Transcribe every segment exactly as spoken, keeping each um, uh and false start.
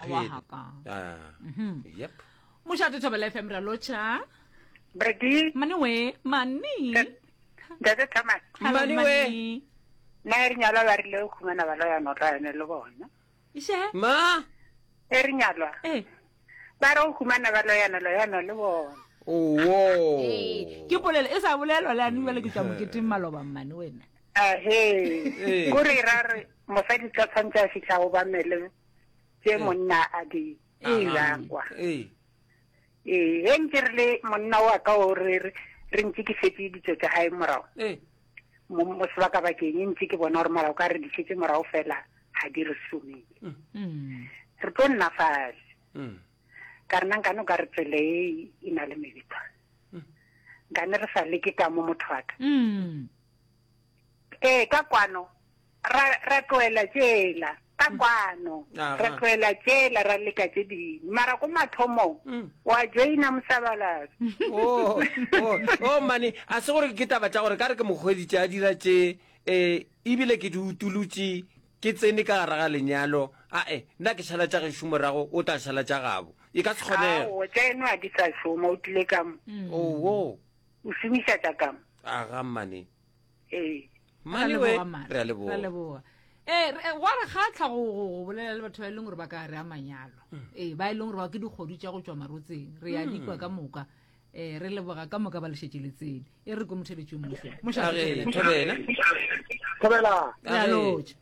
phele haka. Ah, yep Mošate Thobela FM ra lotšha. Brady, Mane we, mane. Ntate Thomas, Hello, Mane we. mane. nna e re nyalwa ba rile go khumana ba loyana o tla yone le bona. Iše? ma E re nyalwa Eh. ba re go khumana ba loyana loyana le bona. owo Eh, ke polelo e sa bolelwa le ane bjale ke tšwa moketeng maloba mmane wena. Ahe, Ee. kore ra re mosadi tla tshwanetse a fitlha go bamele tse monna a di dirang kwa. ee Ee, ge ntse re le monna wa ka o re re re ntse ke setse ditso tsa hae morago ee mo mo sebakabakeng e ntse ke bona gore molao ka re di setse morago fela ga di re somele. Mm. Re tlo nna fatshe. Mm. Ka rena nkane o ka re tsela e e na le mebetwa. Nkane re sa leke ka mo motho wa ka. Mm. Ee, ka kwano ra ra tlohela tšela ka kwano Aha. ra tlohela tšela ra leka tše dingwe mara ko mathomong Mm. wa joina mosabalasa oh oh oh mane a se gore ke taba tša gore ka re ke mokgweditše a dira tše um ebile ke di utulotše ke tsene ka gare ga lenyalo ae nna ke šala tša gešo morago o tla šala tša gabo e ka se kgonege ao tša eno a di sa šoma o tlile ka mo owo o šomiša tša ka mo aga mane ee mane we Ra leboga, mane. re a Ra leboga leboga. Ee, re- gwa re kgatlha go go- go bolela le batho ba e leng gore ba ka re a manyalo ee ba e leng gore ba ke dikgodu tša go tšwa marotseng re ya dikwa ka moka um re leboga ka moka ba lešetše le tsene e re ko motheletše mmušo age thobela Thobela re a Age. lotša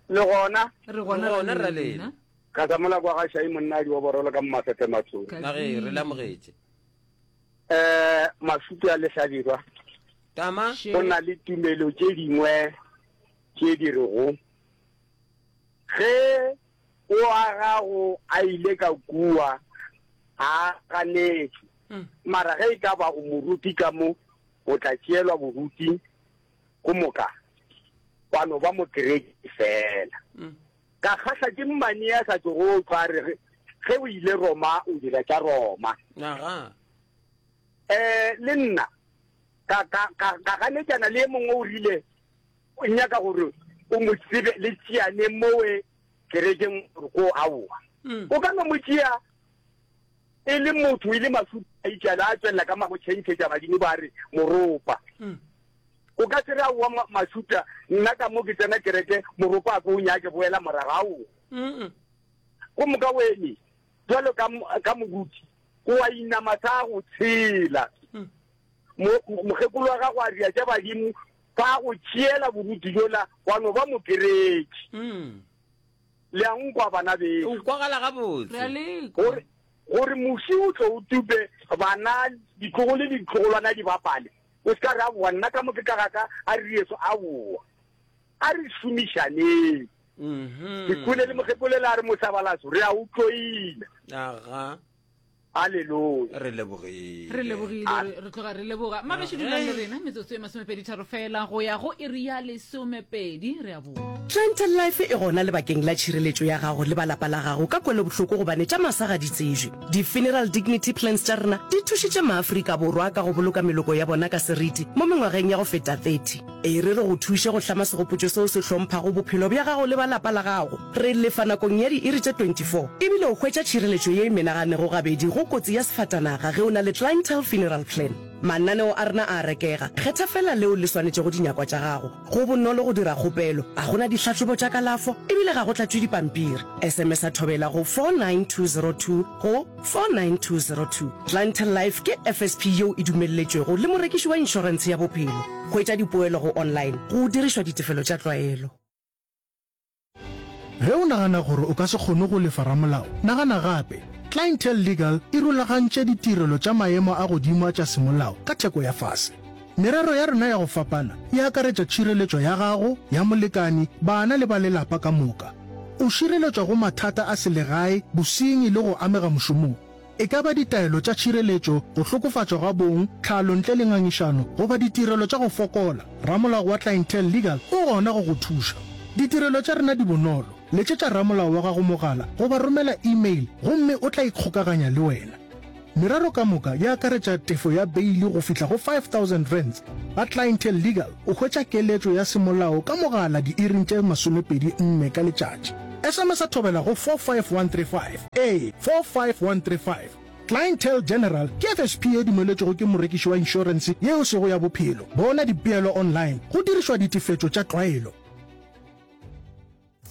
le gona re gona Re gona, ra ra lena. lena. ka tsa mola kwa ga shai monna a di oborolo ka mafefe matsong Ka age re le amogetše um masutu a lehlabirwa tama Še. go na le tumelo tše dingwe tše di rego ge o a gago a ile ka kua a ganetše Mm. mara ge e ka ba o moruti ka mo o tla tšeelwa boruti ko moka wa no ba mokereki fela Mm. ka kgahla ke mmane ya sa tsogo o tlwa re ge- ge o ile roma o dira tša roma aga um le nna ka ka ka ka ganetšana le e mongwe o rile o nyaka gore o mo tsebe le tšeane mowe kerekeng gore ko aowa Mm. o ka no mo tšea e le motho e le masuta a itšala a tswelela ka mago tšhentšhetša badimo ba re moropa Mm. o ka se re aowa ma- masuta nna ka mo ke tsena kereke moropa a ko o nyake boela morago aowa Mm-mm. go moka wene jalo ka mo- ka moruti o a inama sa go tshela Mm. Mo- mo- mokgekolo wa gago a ria tša badimo ba go tšeela boruti jola wa no ba mokereki Mm. le a nkwa bana beno o kwagala re a gabotse lekwa gore gore moši o tlo o tupe bana ditlogolo le ditlogolwana di bapale o se ka re aowa nna ka mo ke ka gaka a re rieso aowa a re šomišaneng Mhm. ke kwele le mokgekolo le a re mosabalaso re a o tloile aga halleluja re lebogile re lebogile re- re tloga re leboga mabeše dulang le rena metsotso e masomepedi tharo fela go ya go iri ya lesomepedi re a boa Clientele Life e gona lebakeng la tšhireletšo ya gago le ba lapa la gago ka kwelobohloko gobane tša masa ga di tsejwe. Di-funeral dignity plans tša rena di thušitše maAfrika Borwa ka go boloka meloko ya bona ka seriti mo mengwageng ya go feta thirty. E re re go thuše go hlama segopotšo seo se hlomphago bophelo bja gago le ba lapa la gago. Re lefa nakong ya diiri tše twenty-four ebile o hwetša tšhireletšo ye e menaganego gabedi go kotsi ya sefatanaga ge o na le Clientele Funeral Plan. Mananeo a rena a rekega, kgetha fela leo le swanetšego dinyakwa tša gago. Go bonolo go dira kgopelo, ga gona dihlahlobo tša kalafo ebile ga go tlatšwe dipampiri. S M S a thobela go four nine two zero two go four nine two zero two. Clientele Life ke F S P yeo e dumelletšwego le morekiši wa inšorentshe ya bophelo. Hwetša dipoelo go online go dirišwa ditefelo tša tlwaelo. Ge o nagana gore o ka se kgone go lefa ramolao, nagana gape. Clientele Legal e rulagantše ditirelo tša maemo a godimo a tša semolao ka theko ya fase. Merero ya rena ya go fapana e akaretša tšhireletšo ya gago, ya molekani, bana le ba lelapa ka moka. O šireletšwa go mathata a selegae, bosenyi le go amega mošomong. E ka ba ditaelo tša tšhireletšo, go hlokofatšwa ga bong, tlhalo ntle le ngangišano, goba ditirelo tša go fokola, ramolao wa Clientele Legal o gona go go thuša. Ditirelo tša rena di bonolo. Letšetša ramolao wa gago mogala goba romela email gomme o tla ikgokaganya le wena. Merero ka moka e akaretša tefo ya beili go fihla go five thousand rands. Ba Clientele Legal o hwetša keletšo ya semolao ka mogala diiring tše masomepedi nne ka letšatši. S M S-a Thobela go four five one three five. Ee, four five one three five. Clientele General ke F S P ye dumeletšwego ke morekiši wa inšorense ye e sego ya bophelo. Bona dipeelo online go dirišwa ditefetšo tša tlwaelo.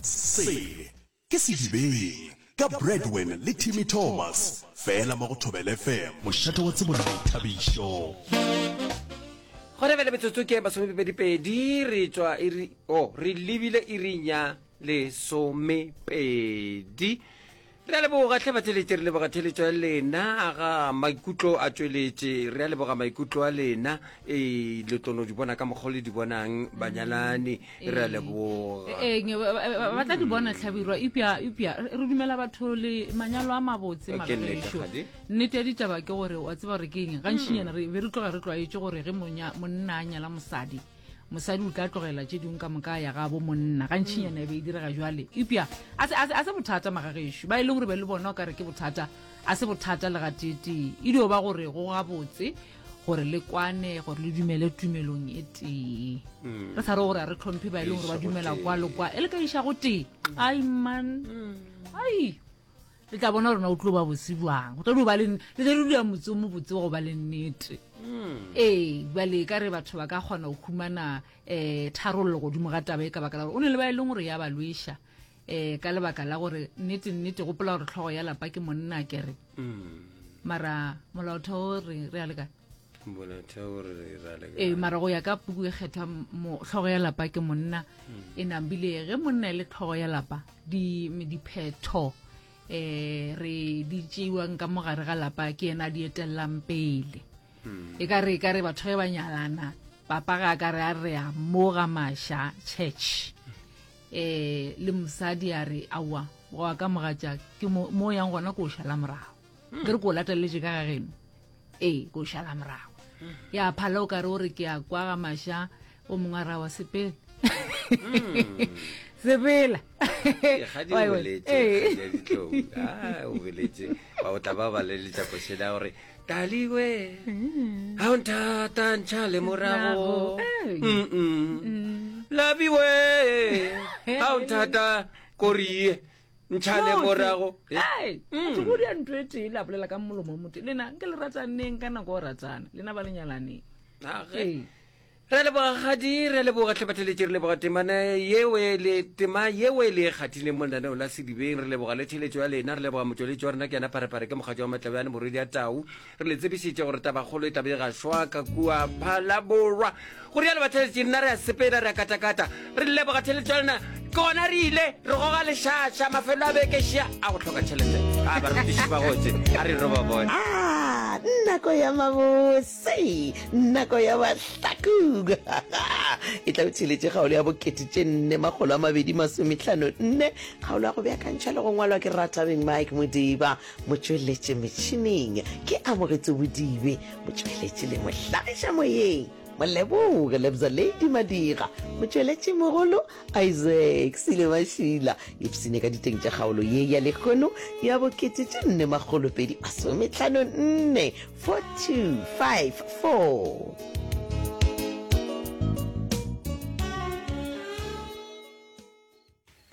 Se ke Sedibeng ka Bradwin le Timmy Thomas, fela mo go Thobela F M, mošate wa tsebo le boithabišo. Gona bjale metsotso ke masomepedi-pedi re tšwa iri, oh, re lebile iring ya lesomepedi. Re a leboga hle batheletši, re leboga theletšo ya lena. Aga maikutlo a tšweletše, re a leboga maikutlo a lena. Ee, le tlo no di bona ka mokgwa o le di bonang banyalani. Re a leboga. Ee, ba tla di bona Hlabirwa, eupša eupša re dumela batho le manyalo a mabotse Ke nnete, magagešo. kgadi. Nnete ya ditaba ke gore wa tseba gore ke eng, gantšinyana re be re tloga re tlwaetše gore ge monya- monna a nyala mosadi, mosadi o tla tlogela tše dingwe ka moka ya gabo monna. Gantšinyana e be e direga jwale, eupša a se, a se, a se bothata magagešo. Ba e leng gore be le bona o ka re ke bothata, a se bothata le gateetee. E dio ba gore go gabotse gore le kwane, gore le dumele tumelong e tee. Re sa re gore a re tlhomphe ba e leng gore ba Iša go dumela tee. kwa le kwa, e le ka iša go tee. Ai man, ai le tla bona rona o tlo ba bose bjang, go tlo dio ba le, le tlo dula motse o mobotse wa go ba le nnete. Ee, bjale ka re batho ba ka kgona go humana um tharollo godimo ga taba e, ka baka la gore o ne le ba e leng gore ya ba lweša um ka lebaka la gore nnete nnete gopola gore tlhogo ya lapa ke monna kere. Mara molaotheo re re a le kae? Molaotheo re ra le Ee, mara go ya ka puku e kgethwa mo tlhogo ya lapa ke monna. E nambile ge monna e le tlhogo ya lapa, di diphetho eh re di tšeiwang ka mogare ga lapa ke yena a di etellang pele. E ka re, e ka re batho ge ba nyalana, papa ga a ka re a re a mo ga Maša church eh le mosadi a re aowa wa ka mogatša ke mo mo yang gona ko o šala morago, ke re ko o lateletše ka ga geno, ee ko o šala morago. Ya phala o ka re o re ke a kwa ga Maša, o mongwe a ra wa sepela sepela. Kgadi o Wa- wa- boletše, ee. kgadi ya ditlou. Ah, o boletše. Ba o tla ba ba leletša košela gore taliwe ga o nthata ntšha le morago. Ee. Mm-mm. Labiwe ga o nthata korie ntšha le Motse. morago. Eh, Ai, batho go dia ntho e tee le a bolela ka molomo o motee. Lena nke le rataneng ka nako o ratana, lena ba le nyalaneng. Ah, ge. Ee. Re a leboga kgadi, re a leboga hle batheletši, re leboga temana yeo e le tema yeo e le e kgathileng mo lenaneo la Sedibeng. Re leboga le theletšo ya lena, re leboga motšweletši wa rena ke yena Pharephare ke mokgatši wa Matlabjane morwedi ya Tau. Re le tsebišitše gore tabakgolo e tlabe e gašwa ka kua Phalaborwa. Go rialo batheletši, nna re a sepela, re a katakata. Re leboga theletšo ya lena. Ke gona re ile re goga lešaša mafelo a beke šia a go hloka tšhelete. A barutiši ba gotse, a re re ba bone. Ah, nako ya mabose, nako ya mahlakong. E tla o theletše kgaolo ya bokete tše nne makgolo a mabedi masomehlano nne, kgaolo ya go beakantšha le go ngwalwa ke Rathabeng Mike Modiba, motšweletše metšhineng ke Amogetso Bodibe, motšweletši le mohlagiša moyeng Moleboge Lebza Lady Madira, motšweletši mogolo Isaac Sile Mašila. Ipsene ka diteng tša kgaolo ye ya lekgono ya bokete tše nne makgolo pedi masomehlano nne, four two five four.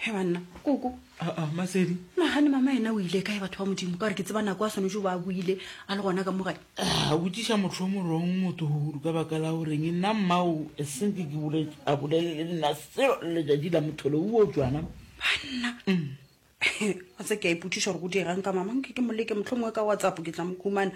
He banna, koko. Aa, Masedi. Nagane mama yena o ile kae batho ba Modimo, ka gore ke tseba nako a swanetše go ba a buile a le gona ka mo gae. A botšiša motho o morong motogolo ka baka la goreng nna mmao e senke ke bole a bolele le nna selo le letšatši la motholo o tšwana. Banna. A tse ke a ipotšiša gore go diegang ka mama, nke ke mo leke mohlomongwe ka WhatsApp ke tla mo khumana.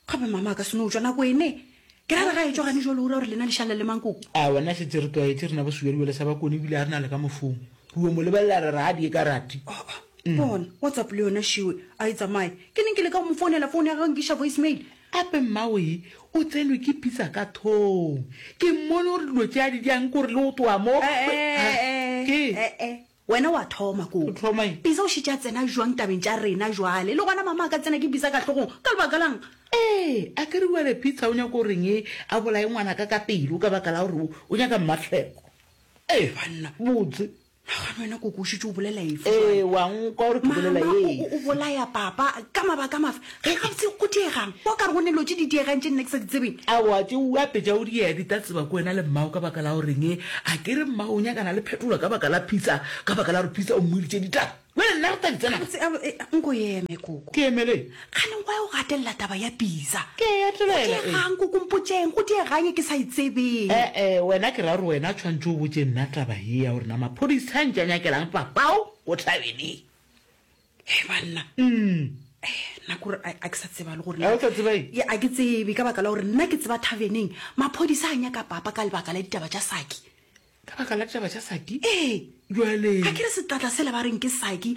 Gape mama a ka se no tšwa nako ene. Ke ra re ga e tšwa gane jwale o ra gore lena le šale le mang koko? A wena šetše re tlwaetše rena bo Sejualejwale sa Bakone ebile a re na le ka mofong. Re o mo lebelela re re a die ka rati. Oh, bona WhatsApp le yona šiwe a e tsamaye. Ke neng ke leka go mo founela phone ya gagwe nkiša voicemail. Ape mmawe o tsenwe ke pitsa ka thong. Ke mmone gore dilo tše a di diang kore le go tloga mo. Eh, eh, Ke? eh, eh. Wena wa thoma koko. O thoma eng? Pitsa o šetše a tsena jwang tabeng tša rena jwale? Le gona mama a ka tsena ke pitsa ka hlogong ka lebaka lang? Ee, a ke re bjale Pitsa o nyaka goreng e a bolaye ngwana ka ka pelo ka baka la gore o nyaka mmatlheko. Ee, Banna. botse. Nagane wena koko o šetše o bolela efe Ee, jwale? wa nkwa gore ke bolela Mama o, efe. o, o bolaya papa ka mabaka mafe? Ge gabotse go diegang, wa ka re go ne dilo tše di diegang tše nna ke sa di tsebeng. Aowa, tše o apetša o di ya di tla tseba ke wena le mmao ka baka la goreng e a ke re mmao o nyakana le phetolo ka baka la Pitsa, ka baka la gore Pitsa o mmoditše ditaba. Bjale nna re tla di tsena. Gabotse, a- e, nko eme koko. Ke emele. Kgane wa o gatelela taba ya Bisa. Ke e gatelela, Go diegang koko mpotšeng, go diegang e ke sa e tsebeng. E-e, wena ke ra gore wena tshwantše o botše nna taba ye ya gore na maphodisa a ntše a nyakelang papao ko thabeneng. Hei banna. Eh, nna kore a a ke sa tseba le gore A o sa tseba eng? Ya, a ke tsebe ka baka la gore nna ke tseba thaveneng maphodisa a nyaka papa ka lebaka la ditaba tša Saki. Ka baka la ditaba tša Saki? Ee. Jwale. A ke re setlatla sela ba reng ke Saki,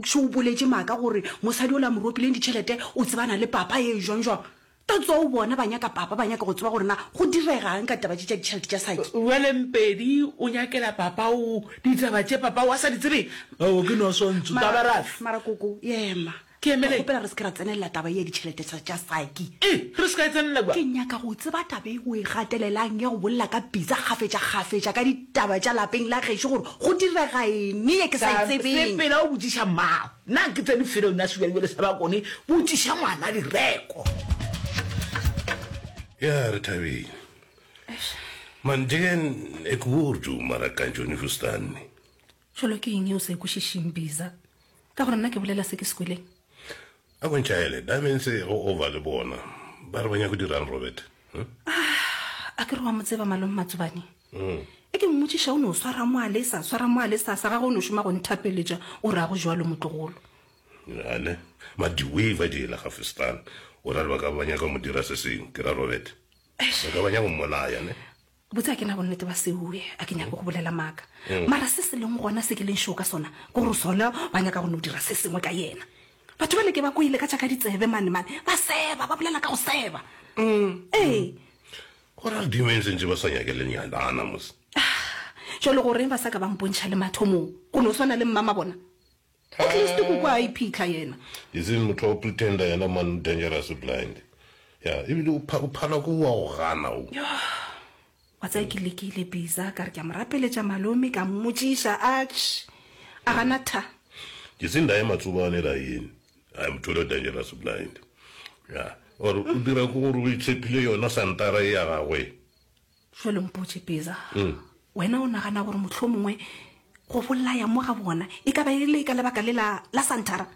šo o boletše maaka gore mosadi ola a mo ropileng ditšhelete o tsebana le papa ye jwang jwang. That's all bona ba nyaka papa, ba nyaka go tseba gore na go diregang ka taba tše tša ditšhelete tša Saki. Bjale Mpedi o nyakela papa o ditaba tše papa o a sa di tsebeng? Aowa ke no swantšho taba raf. Mara koko, ema. Ke emele. Ke kgopela re se ke ra tsenelela taba ye ya ditšhelete tša, tša Saki. E, re se ka e tsenelela kwa. Ke nyaka go tseba taba e o e gatelelang ya go bolela ka pitsa kgafetša-kgafetša ka ditaba tša lapeng la gešo gore go direga eng ye ke sa e tsebeng. Sepela o botšiša mmago. Nna ke tsene felo nna sebjalebjale sa bakone, botšiša ngwana direko. Ya, re thabile. Man, njegen ek woord mara kanjho ni verstaan nie. Jwalo ke eng ye o sa e kwešišeng, Biza? Ka gore nna ke bolela se ke se kweleng. A ko ntšhaele, Diamonds go over le bona. Ba re ba nyaka go dirang, Robert? Huh? A ke re wa mo tseba malome Matsobane? Mm. E ke mmotšiša o no swara mo a lesa, swara mo a lesa, sa gagwe o no šoma go nthapeletša, o re a go jwalo motlogolo. Ja, ne. Ma di-wave di ela ga verstaan. O ra re ba ka ba nyaka go mo dira se sengwe, ke ra Robert. Ba ka ba nyaka go mmolaya, ne? Botse a ke na bonnete ba seoe, a ke nyake go bolela maaka. Mm. Mara se se leng gona se ke leng sure ka sona, ke gore sona ba nyaka go no dira se sengwe ka yena. Batho bale ke ba kwele ka tša ka ditsebe mane mane, ba seba, ba bolela ka go seba. Mm. Ee. Go ra demons ntse ba sa nyake le nyalana mos. Jwale goreng ba sa ka ba mpontšha le mathomong? Go no swana le mmama bona. At least koko a iphitlha yena. Iseng motho wa go pretender yena man dangerous blind. Ya, ebile o pha-, o phala ko wa go gana o. Yo. Wa tsaya ke lekile Bisa, ka re ke a mo rapeletša malome, ka mmotšiša, atš, a gana tha. Ke se ndaye matsobane la yini. I'm totally dangerous blind. Ya, or o dira ko gore o itshepile yona santara e ya gagwe. Jwale mpotše Bisa, Mm. wena o nagana gore mohlomongwe go bolaya mo ga bona e ka ba e le ka lebaka le la, la santara?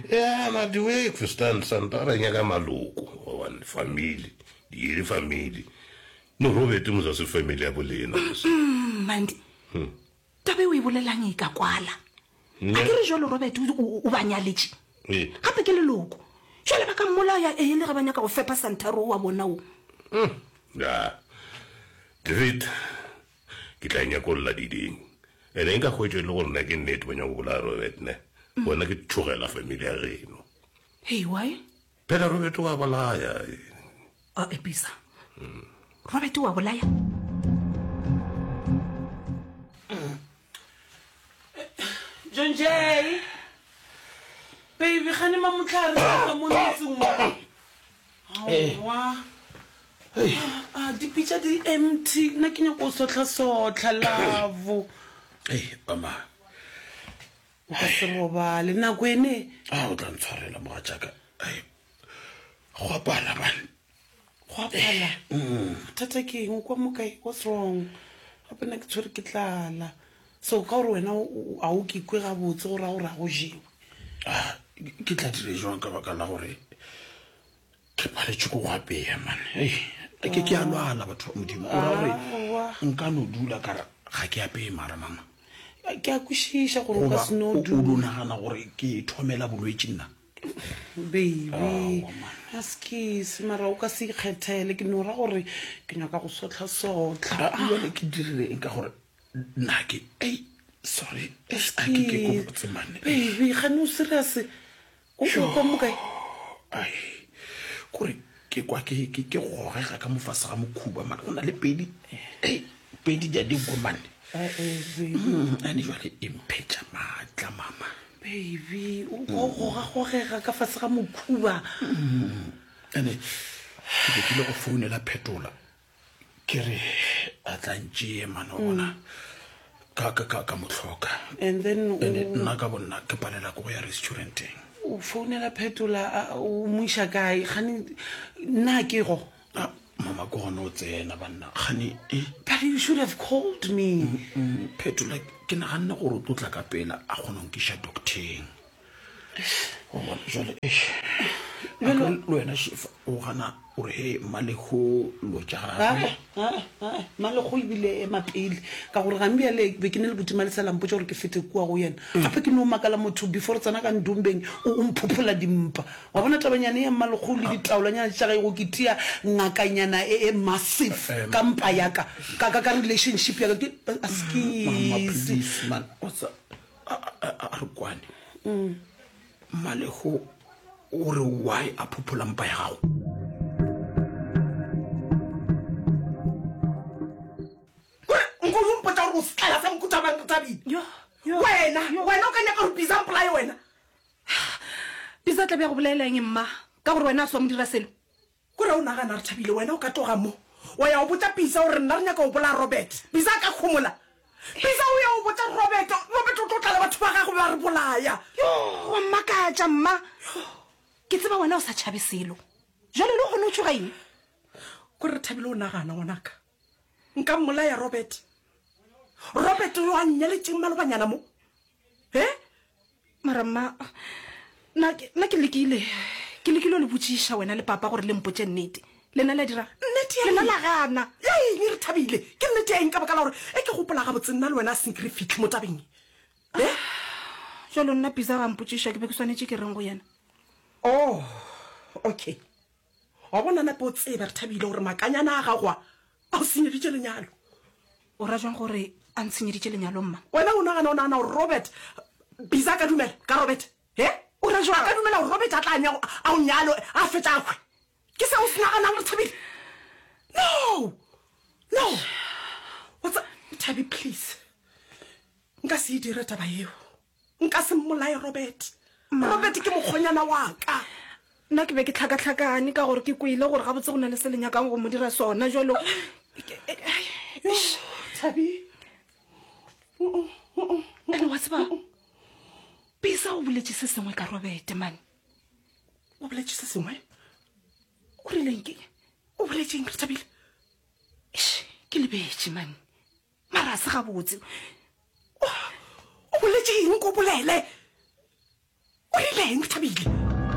Ya, ma the way Christian santara e nyaka maloko, gobane family, di le family. No Robert mo sa se family ya bolena. Mm, Mandi. Hmm. Taba e o e bolelang e ka kwala. Ne. A ke re jwalo Robert o, o, o ba nyaletše. Ee. Gape ke leloko. Jwale ba ka mmolaya e le ge ba nyaka go fepa santara o wa bona o. Mm. Ya. David, ke tla nyakolla diding. Ene nka hwetša e le gore nna ke nnete ba nyaka go bolaya Robert ne. Mm. Wena ke tšhogela family ya geno. Hey, why? Phela Robert wa bolaya. A episa. Mm. Robert wa bolaya. John Jay. Baby, gane mamotlhare ka mo metseng mo. Eh. Aowa. Ah, dipitša di empty. Nna ke nyaka go sohla-sohla, love. Ei, mama. O ka se robale nako ene. A o tla ntshwarela mogatšaka. Ai, go a pala bane. Go a pala? Mm. Bothata ke eng? O kwa mo kae? What's wrong? Gape nna ke tshwere ke tlala. So ka gore wena o, o, a o ke kwe gabotse go raya gore a go jewe. Ah, ke tla dire jwang ka baka la gore ke paletswe ke go apeya man. Ei, ke ke a lwala batho ba Modimo. O ra gore Aowa. nka no dula ka re ga ke apeye mara mama. Ke a kwešiša gore o ka Goba se no o, o dula. do nagana gore ke thomela bolwetši nna? Baby, Aowa, man. a sekese mara o ka se ikgethele. Ke no ra gore ke nyaka go sohla-sohla. Ah, jwale ke dirile eng ka gore nna ke, ei, sorry, a ke ke ko botse mane. Baby, gane o serious? O o kwa mo kae? Ai, kore ke kwa ke, ke, ke gogega ka mo fase ga mokhuba mane. Go na le pedi, ei, pedi di a dingwe mane. Eh, eh, baby. Mm, ane jwale e mphetša maatla, mama. Baby, o kwa o goga-gogega ka fase ga mokhuba. Mm. Ane ke be ke ile go founela Phetola. Ke re a tla ntšee mane wa bona. Ka, ka, ka, ka mo hloka. And then o- Ene nna ka bonna ke palela ke go ya restauranteng. O founela Phetola, a, o mo iša kae? Gane nna ke go. Ah, mama, mama ke gone o tsena banna gane e But you should have called me. Phetola ke naganne gore o tlo tla ka pela a kgone go nkiša docteng. O bona jwale eish. A ke le wena Shefa o gana o re he mmalego lo tša gagwe. Mmalego ebile ema pele ka gore gang bjale be ke ne le botima le sela mpotša gore ke fete kua go yena. Gape ke no makala motho before re tsena ka ndombeng o o mphophola dimpa. Wa bona tabanyana ya mmalego le ditaolanyana tša gage go ke tia ngakanyana e e massive ka mpa ya ka ka ka ka relationship ya ka ke Mama askis. please man o tsa a a a re kwane. Mmalego o re why a phophola mpa ya gago? Kore nko o mpotsa gore o setlaela sa mohuta mang re Thabile? Wena, wena o ka nyaka gore Bisa a mpolaye wena? Bisa tla be a go bolaela eng mma? Ka gore wena a se wa mo dira selo? Kore o nagana re Thabile wena o ka tloga mo wa ya o botša Bisa gore nna re nyaka go bolaya Robert. Bisa a ka homola. Bisa o ya o botša Robert, Robert o tlo tla le batho ba gagwe ba re bolaya. Yo, wa mmakatša mma. Ke tseba wena o sa tšhabe selo. Jwale le gona o tšhoga eng? Kore re Thabile o nagana ngwanaka. Nka mmolaya Robert. Robert yo a nnyaletšeng malobanyana mo. He? Mara mma, nna ke, nna ke lekile. Ke lekile go le botšiša wena le papa gore le mpotše nnete. Lena la dira? Nnete ya Lena eng? la gana. Ya eng re Thabile? Ke nnete ya eng ka baka la gore e ke gopola gabotse nna le wena a senke re fihle mo tabeng e? He? Jwalo nna Bisa ga mpotšiša ke be ke swanetše ke reng go yena? Oh, okay. Wa bona nape o tsebe re Thabile gore makanyana a gago a a o senyeditše lenyalo. O ra jwang gore a ntshenyeditše lenyalo mma? Wena o nagana o nagana gore Robert Bisa a ka dumela ka Robert? He? O ra jwang? A ka dumela gore Robert a tla a nyago a o nyalo a fetša a hwe? Ke seo o se naganang re Thabile? No! No! What's up? Thabi, please. Nka se e dire taba yeo. Nka se mmolaye Robert. Robert ke mokgonyana wa ka. Nna ke be ke tlhakatlhakane ka gore ke kwele gore gabotse go na le se le nyakang go mo dira sona jwalo. Thabi. Ene wa tseba, Bisa o boletše se sengwe ka Robert, man. O boletše se sengwe? O rileng ke? O boletše eng, re Thabile? Eish, ke lebetše, man. Mara a se gabotse. O boletše eng ko bolele? O rileng, re Thabile?